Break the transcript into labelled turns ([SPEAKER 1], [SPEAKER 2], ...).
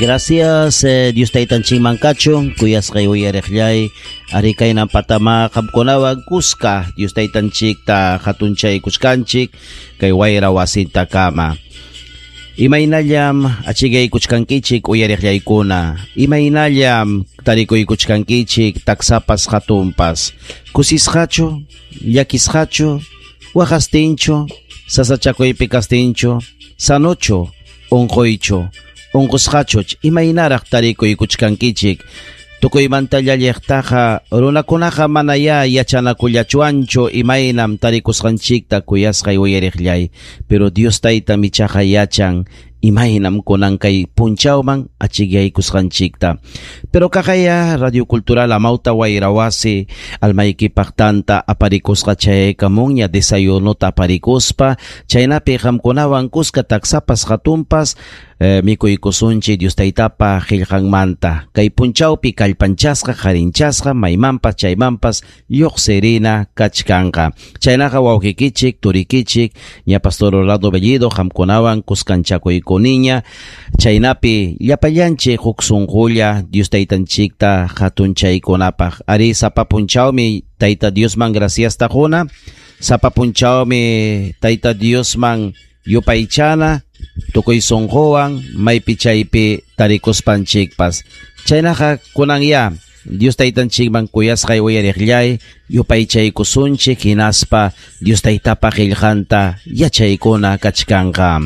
[SPEAKER 1] Gracias Dios taytanchikman kachun, kuyasqay uyariqllay, ari kaynan patama qamkunawan kuska Dios taytanchikta hatunchaykuchkanchik kay wayra wasintakama. Imaynallam achikaykuchkankichik uyariqllaykuna, imaynallam tarikuykuchkankichik taksapas hatunpas, kusisqachu, llakisqachu, waqastinchu, sasachakuypi kastinchu, sanochu, unquychu, unqusqachuch, imaynaraq tarikuykuchkankichik. Tukuymanta llalliqtaqa runakunaqa manayá yachanakullachuanchu imaynam tarikusqanchikta kuyasqay uyariqllay, pero Dios taytam ichaqa yachan imaynam kunan kay punchawman achikyaykusqanchikta. Pero kaqaya Radio Cultural Amauta Wayrawasi almaykipaq tanta aparikusqa chayaykamunña desayunota aparikuspa, chaynapi qamkunawan kuska taksapas hatunpas mikuykusunchik Dios taytapa qillqanmanta. Kay punchawpi kallpanchasqa qarinchasqa maymanpas chaymanpas lluqsirina kachkanqa. Chaynaqa wawqikichik, turikichik, ña Pastor Orlando Bellido qamkunawan kuskanchakuykuniña, chaynapi llapallanchik huk sunqulla Dios taytanchikta hatunchaykunapaq. Ari sapa punchawmi Tayta Diosman graciasta quna, sapa punchawmi Tayta Diosman yupaychana, tukuy sunquwan maypi chaypi tarikuspanchikpas. Chaynaqa kunanya Dios taytanchikman kuyasqay uyariqllay yupaychaykusunchik hinaspa Dios taytapa qillqanta yachaykuna kachkanqa.